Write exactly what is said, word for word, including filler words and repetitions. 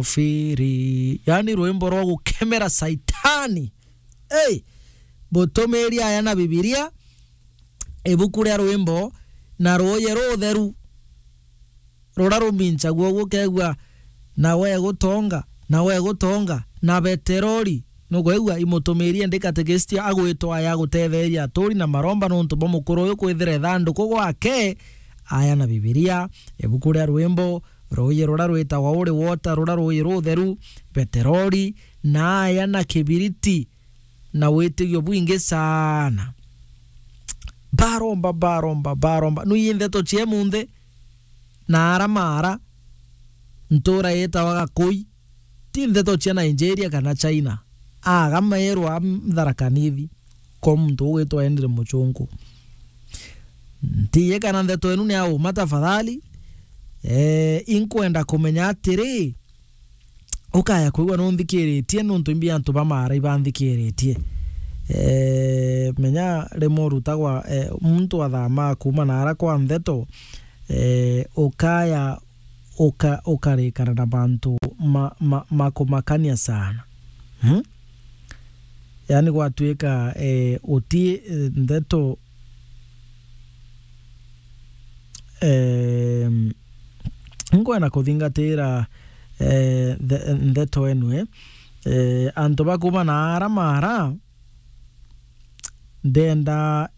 Firi. Yani rwimbo rwa gukemera Saitani. Ei! Butumiri aya na Bibilia, ibuku ria rwimbo na ruuji rutheru. Rura ruminchagua uguo ukeegua, "Na we gutonga, na we gutonga, na beterori." Nukwigua imutumiri endi katekistia agwitwa aya agutetheeria aturi na maromba nontu bwa mukuru uyu kwithira ithanduku gwake aya na Bibilia, ibuku ria rwimbo, ruuji rura rwitagwa Holy Water, rura ruuji rutheru, beterori, na aya na kibiriti, na witigio bwingi sana. Baromba, baromba, baromba. Nui ndeto cia munthi, na ara mara, ntura yitawa Gakui, ti ndeto cia Nigeria kana China. Aga meerwa Tharaka Nithi, kwa muntu ugwitwa Henry Muchungu. Ntiye kana ndeto enu ni ya uma tafadhali. Eh, inkwenda kumenya atiri, ukaya kwigua nunthikiritie nontu imbi antu ba mara ibanthikiritie. Eh, menya rimwe urutagwa, eh, muntu athama kuma na ara kwa ntheto, eh, ukaya uka-, ukarikana na mantu ma, ma, ma kumakania sana. Hmm? Yani gwatuika, eh, uti, eh, ndeto, em, nkwenda kuthingatira, eh, the-, ndeto enwe, eh, antu bakuma na ara mara, ndenda